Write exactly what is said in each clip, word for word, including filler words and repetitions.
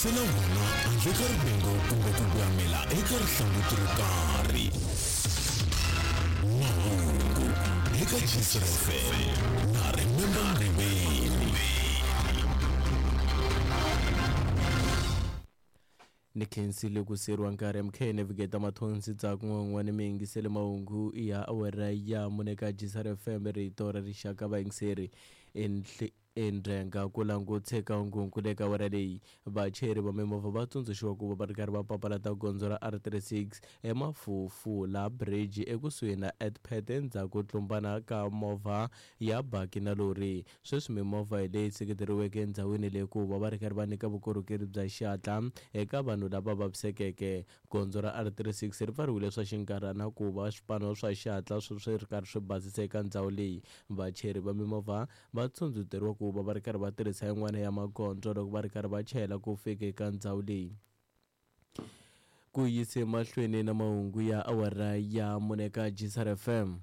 Yingisela wona handle ka rivengo kumbe ku voyamela eka rihlanguti ro karhi. Mahungu eka Gcina F M na Remember Mriveni. Ni khensile ku seriwa nkarhi M K Navigator Mathonsi Tsakun'wan'wana mi yingisele mahungu ya awara ya mune ka Gcina F M rito ra rixaka vayingiseri endrenga ku languteka ngungu eka awara leyi. Vachayeri va mimovha va tsundzuxiwa ku va va ri karhi va papalata gondzo ra R thirty-six eMafufula Bridge ekusuhi na Edpet endzhaku tlumbana ka movha ya baki na lori. Sweswi mimovha hi leyi seketeriweke endhawini leyi ku va va ri karhi va nyika vukorhokeri bya xihatla eka vanhu lava vavisekeke. Gondzo ra R thirty-six ri pfariwile swa xinkarhana ku va swipano swa xihatla swi ri karhi swi basisa eka ndhawu leyi. Vachayeri va mimovha va tsundzuteriwa ku va va ri karhi va tirhisa yin'wana ya magondzo loko va ri karhi va chayela ku fika eka ndhawu leyi. Ku yise mahlweni na mahungu ya awara ya mune ka Gcina F M.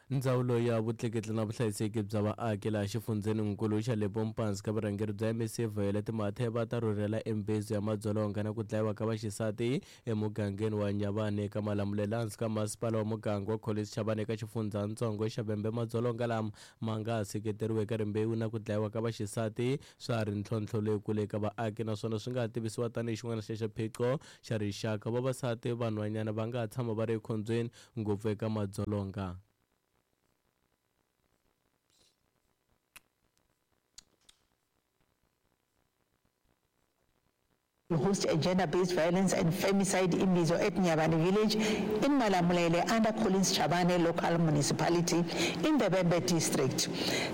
Ndzawulo ya vutleketli na vuhlayiseki bya vaaki laha xifundzheninkulu xa Limpopo ka vurhangeri bya M C Violet Mathe va ta rhurhela embezu ya madzolonga na ku dlayiwa ka vaxisati emugangeni wa Nyavane eka Malamulele hansi ka masipala wa muganga wa Collins Chabane eka xifundzhantsongo xa Vhembe. Madzolonga lama ma nga seketeriwa eka rimbewu na ku dlayiwa ka vaxisati swa ha ri ntlhontlho lowukulu eka vaaki naswona swi nga tivisiwa tanihi xin'wana xa xiphiqo xa rixaka. Vavasati vanhwanyana va nga tshama va ri ekhombyeni ngopfu eka madzolonga. Host a gender-based violence and femicide imbizo at Nyabane village in Malamulele under Collins Chabane local municipality in the Vhembe district.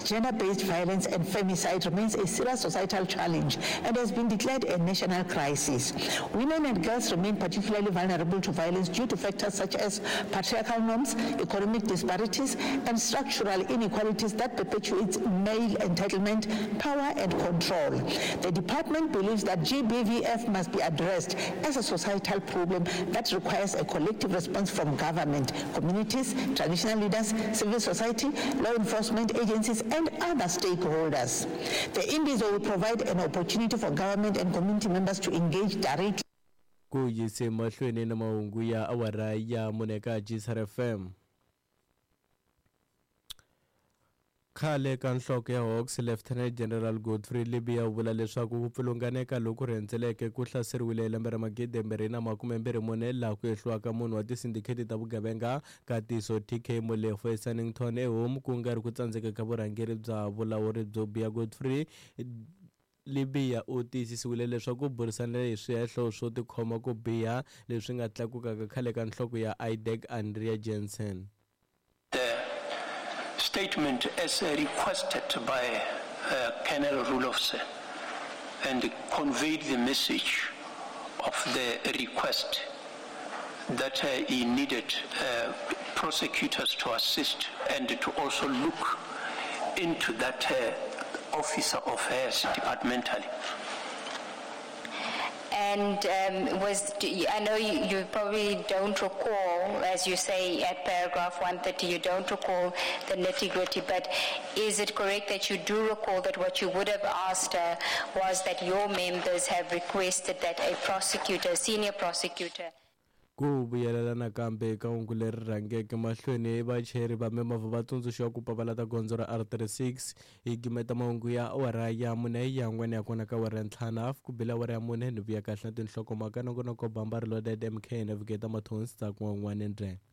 Gender-based violence and femicide remains a serious societal challenge and has been declared a national crisis. Women and girls remain particularly vulnerable to violence due to factors such as patriarchal norms, economic disparities, and structural inequalities that perpetuate male entitlement, power, and control. The department believes that G B V F must be addressed as a societal problem that requires a collective response from government, communities, traditional leaders, civil society, law enforcement agencies, and other stakeholders. The imbizo will provide an opportunity for government and community members to engage directly. Ku yise mahlweni na mahungu ya awara ya mune ka Gcina F M. Khale ka nhloko ya Hawks Lieutenant General Godfrey Libya u vula leswaku ku pfilunganeka loku rhendzeleke ku hlaseriwile hi lembe ra magidi mbirhi na makume mbirhi mune laha ku ehliwaka munhu wa tisindikheti ta vugevenga Katiso T K Molefe eSannington eHome ku nga ri ku tsandzeka ka vurhangeri bya vulawuri byo biha. Godfrey Libya u tiyisisiwile leswaku burisanile hi swihehlo swo tikhoma ku biha leswi nga tlakukaka khale ka nhloko ya I D E C Andrea Jensen. Statement as requested by uh, Colonel Rulofse and conveyed the message of the request that uh, he needed uh, prosecutors to assist and to also look into that uh, officer of hers departmentally. And um, was I know you, you probably don't recall, as you say at paragraph one thirty, you don't recall the nitty-gritty, but is it correct that you do recall that what you would have asked her was that your members have requested that a prosecutor, a senior prosecutor, Ku vuyelela nakambe eka hungu leri rhangeke mahlweni, vachayeri va mimovha va tsundzuxiwa ku papalata gondzo ra R thirty-six hi gimeta mahungu ya awara ya mune ya n'wana ya kona ka awara ya ntlhanu hafu ku bile awara ya mune ni vuya kahle na tinhlokomhaka nongonoko Bamba Reloaded M K Navigator Mathonsi Tsakun'wan'wana Ndrenga.